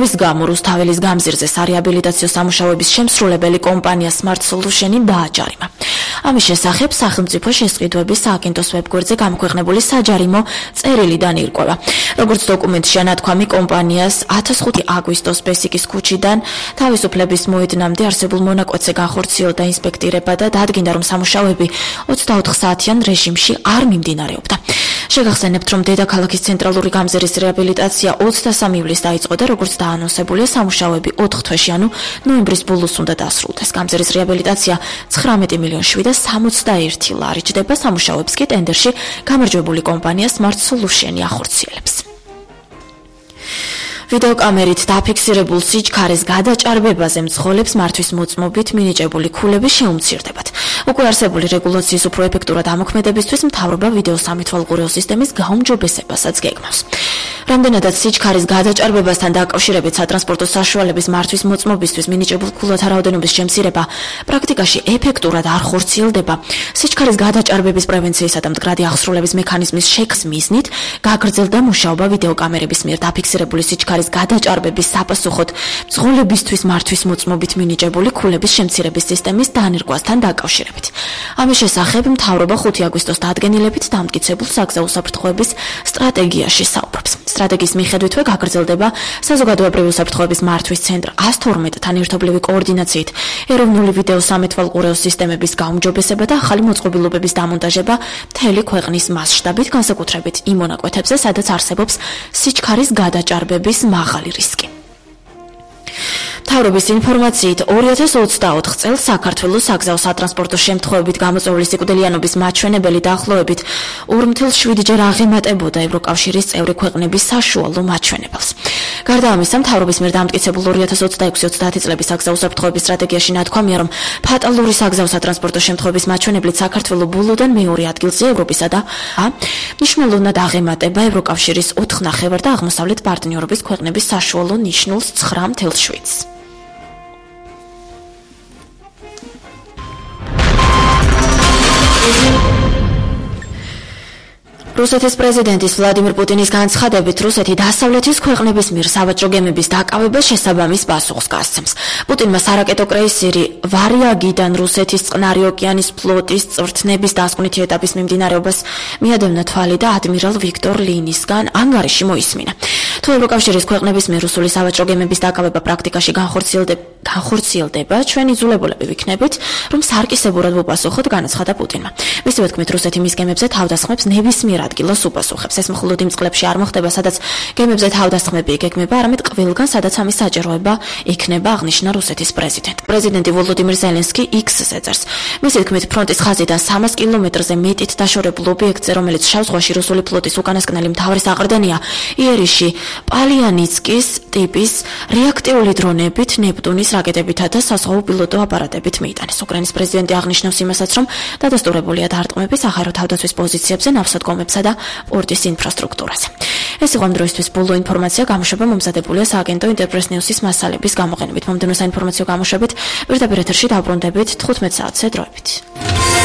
მიღწევის გამო რუსთაველის გამზირზე სარეაბილიტაციო სამუშაოების შემსრულებელი კომპანია Smart Solution დააჯარიმა. ამის შესახებ სახელმწიფო შესყიდვების სააგენტოს ვებგვერდზე გამოქვეყნებული საჯარიმო წერილიდან ირკვევა. როგორც დოკუმენტში ანათქვამი კომპანიას 15 აგვისტოს ბესიკის ქუჩიდან თავისუფლების მოედნამდე არსებულ მონაკვეთზე განხორციელდა ინსპექტირება და დადგინდა, რომ სამუშაოები 24 საათიან რეჟიმში არ მიმდინარეობდა. შეგახსენებთ, რომ დედაქალაქის ცენტრალური გამზირის რეაბილიტაცია 23 ივლისს დაიწყო და როგორც დაანონსებულია, სამუშაოები 4 თვეში, ანუ ნოემბრის ბოლოს უნდა დასრულდეს. გამზირის რეაბილიტაცია 19 მილიონი 761 ლარი ჯდება, სამუშაოებს კი ტენდერში გამარჯვებული კომპანია Smart Solution ახორციელებს. ვიდეოკამერით დაფიქსირებულ სიჩქარის გადაჭარბებაზე მძღოლებს მართვის მოწმობით მინიჭებული ქულები შეუმცირდებათ. უკვე არსებული რეგულაციის უფრო ეფექტურად ამოქმედებისთვის მთავრობა ვიდეო სამითვალყურეო სისტემის გაუმჯობესებასაც გეგმავს. რამდენადაც სიჩქარის გადაჭარბებასთან დაკავშირებით სატრანსპორტო საშუალების მართვის მოწმობისთვის მინიჭებულ ქულათა რაოდენობის შემცირება პრაქტიკაში ეფექტურად არ ხორციელდება. სიჩქარის გადაჭარბების პრევენციისა და მდგრადი აღსრულების მექანიზმის შექმნის მიზნით გაგრძელდა მუშაობა ვიდეოკამერების მიერ დაფიქსირებული სიჩქარის გადაჭარბების საპასუხოდ მძღოლებისთვის მართვის მოწმობით მინიჭებული ქულების შემცირების სისტემის დანერგვასთან დაკავშირებით. ამის შესახებ მთავრობა 5 აგვისტოს დადგენილებით დამტკიცებულ საგზაო უსაფრთხოების სტრატეგიაში საუბრობს. სტრატეგიის მიხედვითვე გაგრძელდება საზოგადოებრივი უსაფრთხოების მართვის ცენტრ 112-თან ერთობლივი კოორდინაციით ეროვნული ვიდეო სამეთვალყურეო სისტემების გაუმჯობესება და ახალი მოწყობილობების დამონტაჟება მთელი ქვეყნის მასშტაბით, განსაკუთრებით იმ მონაკვეთებზე, სადაც არსებობს სიჩქარის გადაჭარბების მაღალი რისკი. მთავრობის ინფორმაციით 2024 წელს საქართველოს საგზაო სატრანსპორტო შემთხვევებით გამოწვეული სიკვდილიანობის მაჩვენებელი დაახლოებით 2.7-ჯერ აღემატებოდა ევროკავშირის წევრი ქვეყნების საშუალო მაჩვენებელს. გარდა ამისა, მთავრობის მიერ დამტკიცებულ 2026-30 წლების საგზაო უსაფრთხოების სტრატეგიაში ნათქვამია, რომ ფატალური საგზაო სატრანსპორტო შემთხვევების მაჩვენებლით საქართველო ბოლოდან მეორე ადგილზე ევროპისა და მნიშვნელოვნად აღემატება ევროკავშირის 4 ნახევარ და აღმოსავლეთ პარტნიორობის ქვეყნების საშუალო ნიშნულს 9.7-ს. რუსეთის პრეზიდენტის ვლადიმირ პუტინის განცხადებით, რუსეთი დასავლეთის ქვეყნების მიერ სავაჭრო გემების დაკავებას შესაბამის პასუხს გასცემს. პუტინმა სარაკეტო კრეისერი ვარიაგიდან რუსეთის წყნარი ოკეანის ფლოტის წვრთნების დასკვნითი ეტაპის მიმდინარეობას მიადევნა თვალი და ადმირალ ვიქტორ ლინისგან ანგარიში მოისმინა. თუ ევროკავშირის ქვეყნების მიერ რუსული სავაჭრო გემების დაკავება პრაქტიკაში განხორციელდება, ჩვენ იძულებულები ვიქნებით, რომ სარკისებურად ვუპასუხოთ, განაცხადა პუტინმა. მისივე თქმით, რუსეთი მის გემებზე თავდასხმებს ნებისმიერ ადგილას უპასუხებს. ეს მხოლოდ იმ წყლებში არ მოხდება, სადაც გემებზე თავდასხმები იგეგმება, არამედ ყველგან, სადაც ამის საჭიროება იქნება, აღნიშნა რუსეთის პრეზიდენტი. პრეზიდენტი ვოლოდიმირ ზელენსკი X-ზე წერს. მისი თქმით, ფრონტის ხაზიდან 300 კილომეტრზე მეტით დაშორებულ ობიექტზე, რომელიც შავ ზღვაში რუსული ფლოტის უკანასკნელი მთავარი საყრდენია, იერიში პალიანიცკის ტიპის რეაქტიული დრონებით, ნეპტუნის რაკეტებითა და საზღვაო პილოტო აპარატებით მიიტანეს. უკრაინის პრეზიდენტი აღნიშნავს იმასაც, რომ დადასტურებულია დარტყმები საჰაერო თავდაცვის პოზიციებზე, ნავსადგომებსა და პორტის ინფრასტრუქტურაზე. ეს იყო ამ დროისთვის ბოლო ინფორმაცია, გამოშვება მომზადებულია სააგენტო ინტერპრეს ნიუსის მასალების გამოყენებით. მომდევნო საინფორმაციო გამოშვებით პირდაპირ ეთერში დავბრუნდებით 15 საათზე დროებით.